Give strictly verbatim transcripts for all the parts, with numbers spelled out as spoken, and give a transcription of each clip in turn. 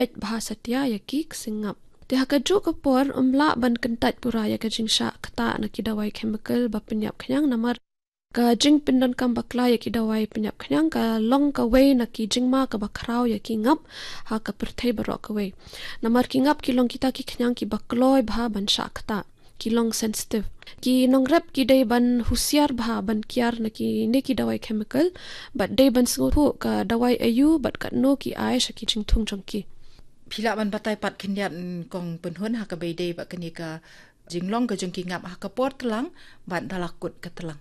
peit bha satia ïa ki ksing ngap. Te ha kajuh ka por ym lah ban kyntait pura ïa ka jingshah ktah na ki dawai chemical ba pynïap khñiang namar ka jingpyndonkam bakla ïa ki dawai pynïap khñiang ka long kawei na ki jingma kaba khraw ïa ki ngap ha ka pyrthei baroh kawei. Namar ki ngap ki long kita ki khñiang kiba kloi bha ban shah ktah, ki long sensitive. Ki nongrep ki dei ban husiar bha ban kiar na kine ki dawai chemical bad dei ban sngewthuh ka dawai aïu bad katno ki ai sha ki jingthung jong ki. Phi lah ban batai pat khyndiat, mm, Kong Pynhun, ha kaba ïadei bad kane ka jinglong ka jong ki ngap ha ka por tlang bad da la kut ka tlang?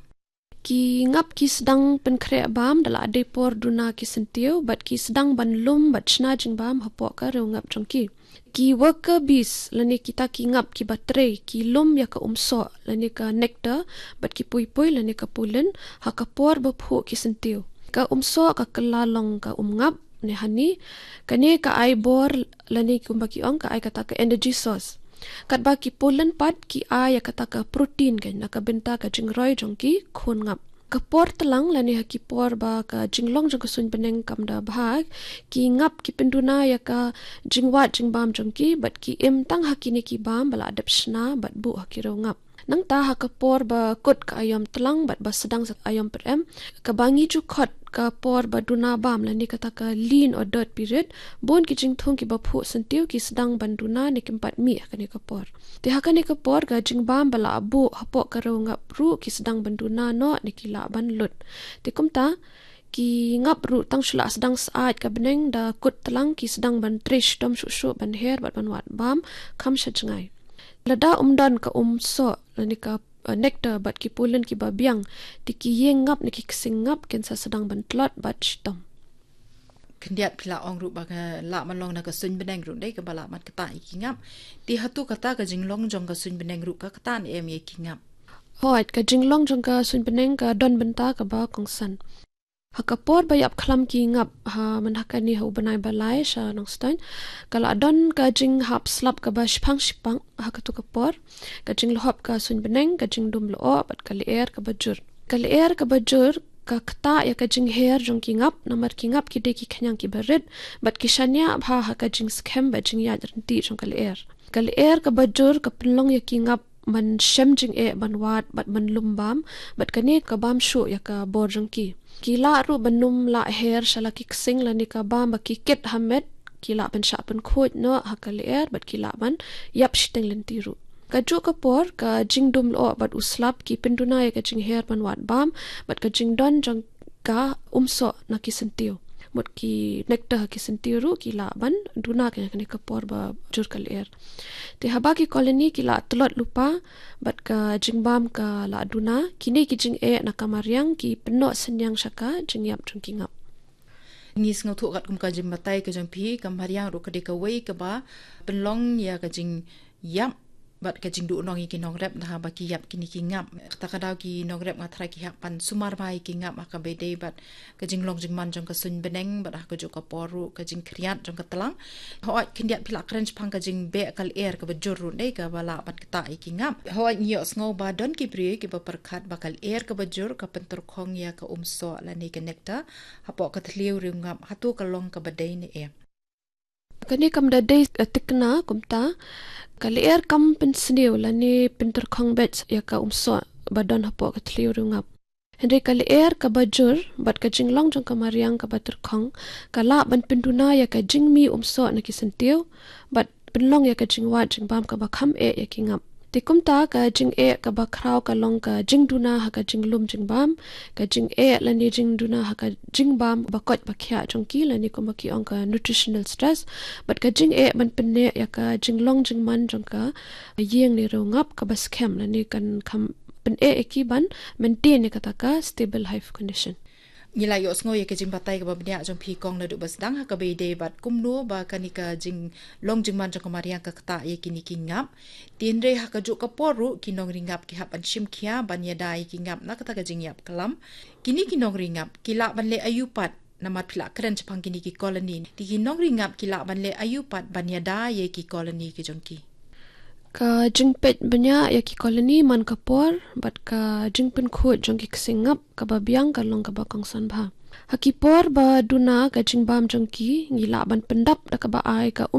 Ki ngap ki sdang pynkhreh bam da la dei por duna ki syntiew bad ki sdang ban lum bad shna jingbam hapoh ka riew ngap jong ki. Ki worker bees lane kita ki ngap kiba trei ki lum ïa ka umsoh lane ka nectar bad ki puipui lane ka pollen ha ka por ba phuh ki syntiew. Ka umsoh ka kylla long ka umngap ne honey, kane ka ai bor lane kumba ki ong ka ai kata ka energy source. Katba ki pollen pat ki ai ïa kata ka protein ka na ka bynta ka jingroi jong ki khun ngap. Ka por tlang lane ha ki por ba ka jinglong jong ka suiñ bneng kam da bha, ki ngap ki pynduna ïa ka jingwad jingbam jong ki bad ki im tang ha kine ki bam ba la dep shna bad buh ha ki riew ngap. Nangta ha ka por ba kut ka aïom tlang bad ba sdang sa aïom pyrem, kaba ngi ju khot ka por ba duna bam lane kata ka lean or dead period, bun ki jingthung kiba phuh syntiew ki sdang ban duna ne kim pat mih ha kane ka por. Te ha kane ka por ka jingbam ba la buh hapoh ka riew ngap ruh ki sdang ban duna noh ne ki lah ban lut. Te kumta ki ngap ruh tang shu la sdang syaid ka bneng, da kut tlang ki sdang ban trei shitom shuh shuh ban her bad ban wad bam kham sha jngai. Lada ym don ka umsoh lane ka, eh, nectar bad ki pollen kiba biang, te ki ïing ngap ne ki ksing ngap kin sa sdang ban tlot bad shitom. Khyndiat phi la ong ruh ba ka lah ban long na ka suiñ bneng ruh dei kaba lah ban ktah ïa ki ngap. Te hato kata ka jinglong jong ka suiñ bneng ruh ka ktah ne em ïa ki ngap? Hooid, ka jinglong jong ka suiñ bneng ka don bynta kaba kongsan. Ha ka por ba ïap khlam ki ngap ha man ha kane ha u bnai ba lai sha Nongstoiñ, ka la don ka jinghap slap kaba shipang shipang ha katu ka por. Ka jinglhop ka suiñ bneng, ka jingdum lyoh bad ka lyer kaba jur. Ka lyer kaba jur ka ktah ïa ka jingher jong ki ngap namar ki ngap ki dei ki khñiang kiba rit bad ki shaniah bha ha ka jingskhem bad jingïaid ryntih jong ka lyer. Ka lyer kaba jur ka pynlong ïa ki ngap ban shem jingeh ban wad bad ban lum bam, bad kane ka bam shuh ïa ka bor jong ki. Ki lah ruh ban ym lah her sha la ki ksing lane ka bam ba ki kit ha met, ki lah ban shah pynkhuid noh ha ka lyer bad ki lah ban ïap shiteng lynti ruh. Kajuh ka por ka jingdum lyoh bad u slap ki pynduna ïa ka jingher ban wad bam bad ka jingdon jong ka umsoh na ki syntiew. Mut ki nectar ha ki syntiew ruh ki lah ban duna ka ïa kane ka por ba jur ka lyer. Te haba ki colony ki la tlot lypa bad ka jingbam ka la duna, kine ki jingeh na ka mariang ki pynnoh synñiang sha ka jingïap jong ki ngap. Ngi sngewthuh katkum ka jingbatai ka jong phi, ka mariang ruh ka dei kawei kaba pynlong ïa ka jingïap bad ka jingduhnong ïa ki nongrep na haba ki ïap kine ki ngap. Kata ka daw ki nongrep nga tharai ki hap ban sumar bha ïa ki ngap ha kaba ïadei bad ka jinglong jingman jong ka suiñ bneng bad ha kajuh ka por ruh ka jingkhriat jong ka tlang. Hooid, khyndiat phi la kren shaphang ka jingbeh ka lyer kaba jur ruh dei kaba lah ban ktah ïa ki ngap. Hooid, ngi ïohsngew ba don ki briew kiba pyrkhat ba ka lyer kaba jur ka pyntyrkhong ïa ka umsoh lane ka nectar hapoh ka thliew riew ngap. Hato ka long kaba dei ne em? Kane kam da dei, eh, tikna kumta. Ka lyer kam pynsniew lane pyntyrkhong beit ïa ka umsoh ba don hapoh ka thliew riew ngap. Hynrei ka lyer kaba jur bad ka jinglong jong ka mariang kaba tyrkhong ka lah ban pynduna ïa ka jingmih umsoh na ki syntiew bad pynlong ïa ka jingwad jingbam kaba kham eh ïa ki ngap. Te kumta ka jingeh kaba khraw ka long ka jingduna ha ka jinglum jingbam, ka jingeh lane jingduna ha ka jingbam ba koit ba khiah jong ki lane kumba ki ong ka nutritional stress, bad ka jingeh ban pynneh ïa ka jinglong jingman jong ka ïing ne riew ngap kaba skhem lane kan kham pyneh ïa ki ban maintain ïa kata ka stable hive condition. Ngi la ïohsngew ïa ka jingbatai kaba bniah jong phi Kong naduh ba sdang ha kaba ïadei bad kumno ba kane ka jinglong jingman jong ka mariang ka ktah ïa kine ki ngap. Te hynrei ha kajuh ka por ruh ki nongri ngap ki hap ban shim khia ban ïada ïa ki ngap na kata ka jingïap khlam. Kine ki nongri ngap ki lah ban leh aïu pat, namar phi la kren shaphang kine ki colony. Te ki nongri ngap ki lah ban leh aïu pat ban ïada ïa ki colony ki jong ki? Ka jingpeit bniah ïa ki colony man ka por bad ka jingpynkhuid jong ki ksing ngap kaba biang ka long kaba kongsan bha. Ha ki por ba duna ka jingbam jong ki, ngi lah ban pyndap da kaba ai ka